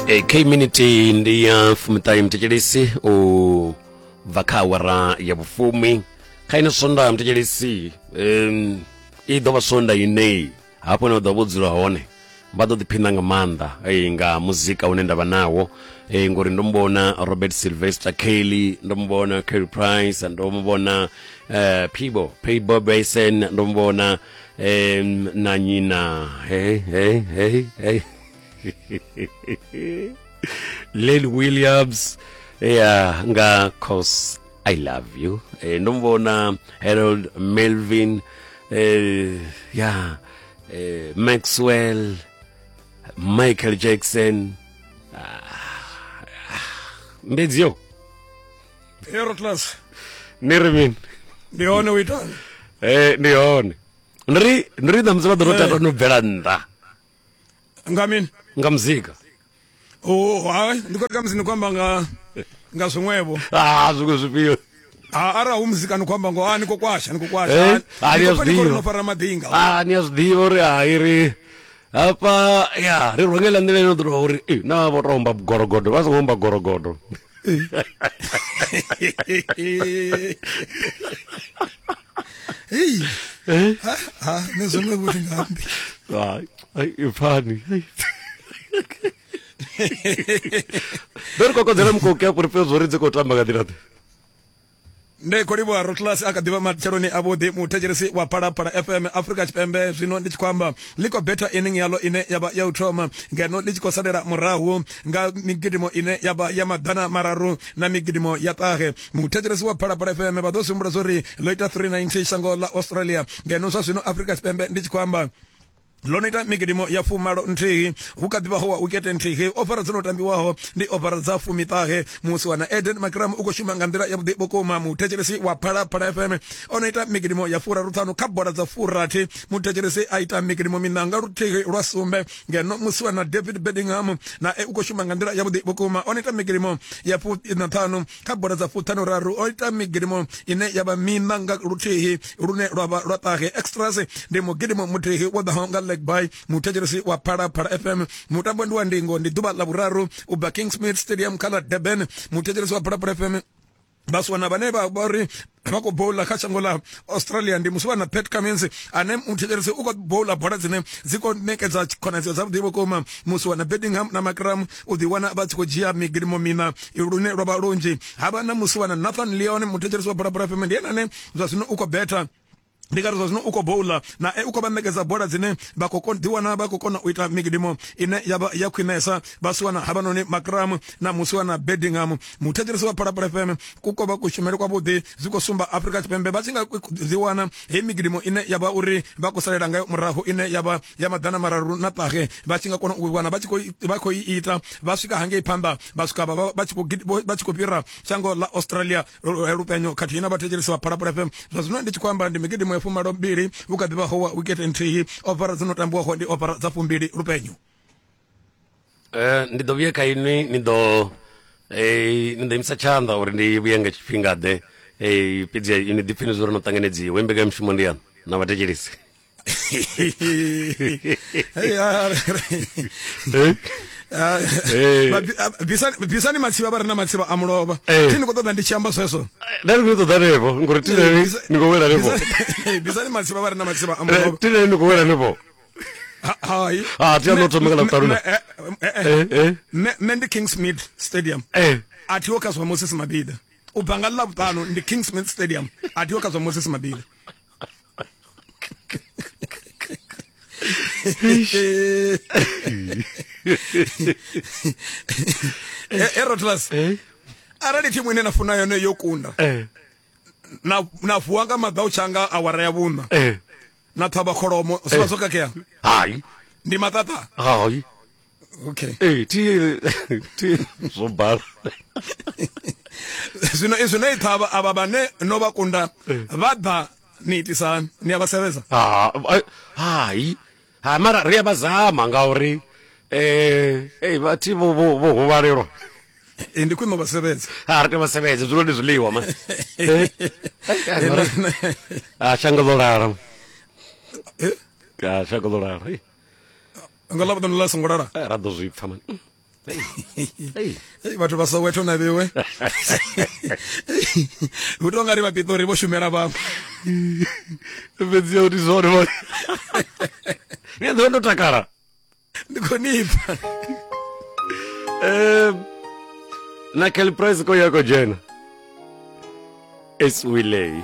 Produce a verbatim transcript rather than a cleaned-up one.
K minute ndi ya fumiṱahe mthetshelesi u bva kha awara ya vhufumi kha ino sonda mthetshelesi um i ḓo vha sonda ine hafho hune vha ḓo vho dzula hone vha ḓo ḓiphina nga maanḓa eh, nga muzika une nda vha nawo eh, ngori ndo mubona Robert Sylvester Kelly, ndo mubona Kerry Price, ndo mubona eh, Peebo Peebo Basin, ndo mubona eh, na nyina hey, hey, hey, hey. Lil Williams, yeah, nga Cause I Love You. Eh, ndo mubona Harold Melvin, eh, yeah, eh, Maxwell, Michael Jackson. Ah, Mbedzio Hero class ni ri mini? Ndi hone u itani? Eh, ndi hone. Ndi ri ndi ṋamusi vha ḓo tata no bvela nnḓa nga mini? Nga muzika. Oh, hai, ndi khou ri musi ni khou amba nga nga zwiṅwevho. Ah, zwiṅwe zwifhio? Ah, ara hu muzika ni khou amba ngo, ah, ni khou kwasha, ni khou kwasha. Ah, ni a zwi ḓivha. No fara maḓinga. Ah, ni a zwi ḓivha uri hai ri hafha ya ri rwengela nḓila ino ḓo uri eh na vho tomba gorogodo vha songo omba gorogodo. Hey. Ha, ha, ne zwiṅwe vho ndi nga ambi. Hai, ai ipfani. Ndo ri kokodzela mukoki afho ri pfe zwo ri dzi khou tamba nga nḓila ḓe. Ndi khou livhuwa Rotlas a kha ḓivha matsheloni avhuḓi muthetshelesi wa Phalaphala F M Afrika Tshipembe. Zwino ndi tshi khou amba ḽi khou betha inning yaḽo ine ya vha ya u thoma ngeno ḽi tshi khou salela murahu nga migidimo ine ya vha ya maḓana mararu na migidimo ya ṱahe. Muthetshelesi wa Phalaphala F M vha ḓo zwi humbula zwa uri ḽo ita three ninety shango ḽa Australia, ngeno zwa zwino Afrika Tshipembe ndi tshi khou amba ḽo no ita migidimo ya fumalo nthihi, hu kha ḓivha ho wa wikete nthihi. Ofara dzo no tambiwaho ndi ofara dza fumiṱahe. Musi wana Eden Makram u khou shuma nga nḓila yavhuḓi vhukuma. Muthetshelesi wa Phalaphala F M o no ita migidimo ya furaruṱhanu kha bola dza furathi. Muthetshelesi a ita migidimo miṋa nga luthihi lwa sumbe, ngeno musi wana David Bedingham na e u khou shuma nga nḓila yavhuḓi vhukuma, o no ita migidimo ya fuṱhanu kha bola dza fuṱhanu raru, o ita migidimo ine ya vha miṋa nga luthihi lune lwa vha lwa ṱahe. Extras ndi mugidimo muthihi wo ḓaho nga leg by muthetshelesi wa Phalaphala F M. Mutambo ndi wa ndingo, ndi ḓuvha ḽa vhuraru u bva Kingsmead Stadium kha ḽa Durban. Muthetshelesi wa Phalaphala F M vhaswana vhane vha uri vha khou bowla kha shango ḽa Australia ndi musiwana Pat Cummins ane muthetshelesi u khou bowla bola dzine dzi khou ṋekedza khonadzeo dzavhuḓi vhukuma. Musiwana Bedingham na Makram u ḓi wana vha tshi khou dzhia migidimo miṋa lune lwa vha lunzhi. Havha na musiwana Nathan Lyon, muthetshelesi wa Phalaphala F M ndi ene ane zwa zwino u khou betha, ndi nga ri zwa zwino u khou bowla na e u khou vha ṋekedza bola dzine vha khou ḓiwana vha khou kona u ita migidimo ine ya vha ya khwinesa. Vhasiwana havhanoni Makram na musiwana Bedingham. Muthetshelesi wa Phalaphala F M ku khou vha kushumele kwavhuḓi, zwi khou sumba Afrika Tshipembe vha tshi nga ḓiwana heyi migidimo ine ya vha uri vha khou salela ngayo murahu ine ya vha ya maḓana mararu na ṱahe, vha tshi nga kona u wana vha tshi khou vha khou ita vha swika hangei phanḓa vha swika vha tshi khou vha tshi khou fhira shango ḽa Australia lupenyo khathihi na vhathetshelesi wa Phalaphala F M. Zwa zwino ndi tshi khou amba ndi migidimo fumalo mbili, hu kha ḓivha ho wa wikete nthihi. Ofara dzo no tambiwaho ndi ofara dza fumbili lupenyo. Eh, ndi ḓo vhuya kha inwi, ni ḓo eh ni ḓo imisa tshanḓa uri ndi vhuye nga tshifhinga ḓe. Eh, fhedzi inwi ḓi pfini zwo ri no ṱanganedziwa. Mbekanyamushumo ndi yaṋu na vhathetshelesi. Bisani matsivha vha re na matsivha a mulovha. Thi ni khou ṱoḓa ndi tshi amba zwezwo? Nda ndi khou ṱoḓa hanefho ngori thi ni khou wela hanefho. Bisani matsivha vha re na matsivha a mulovha. Thi ni khou wela hanefho. Hai. Ah, thi a no thoma nga ḽavhuṱanu. Nṋe ndi Kingsmead Stadium. A thiho kha zwa Moses Mabhida. U bva nga ḽavhuṱanu ndi Kingsmead Stadium. A thiho kha zwa Moses Mabhida. Erotlas, arali thimu ine na funa yone yo kunda na na vuwa nga maḓau tshanga awara ya vhuṋa na ṱhavha kholomo zwi vha zwo khakhea? Hai, ndi maṱaṱa. Hai, okay. Eh, thi thi zwo bala. Zwino izwi no i ṱhavha avha vhane no vha kunda vha ḓa ni itisani, ni a vha sevhedza? Hai, ha mara ri a vha zama ngauri eh eh vhathi vho vho huvhalelwa. Eh, ndi khwine vha sevhedza. Ha ri tea vha sevhedza, zwiḽiwa ndi zwiḽiwa ma. Ah, shango ḽo lala. Eh? Ah, shango ḽo lala. Nga ḽavhuṱanu ḽa songo lala. Ra ḓo zwi pfa man. Hey. Ei, vhathu vha Soweto na vhiwe hu tou nga ri vha Pitori vho shumela vhaṅwe. Fhedzi ya uri zwone vho ni a ḓovha ndo takala. Ndi khou nipfa. Um na Kelly Price ko ya ko dzhena. It's Wiley.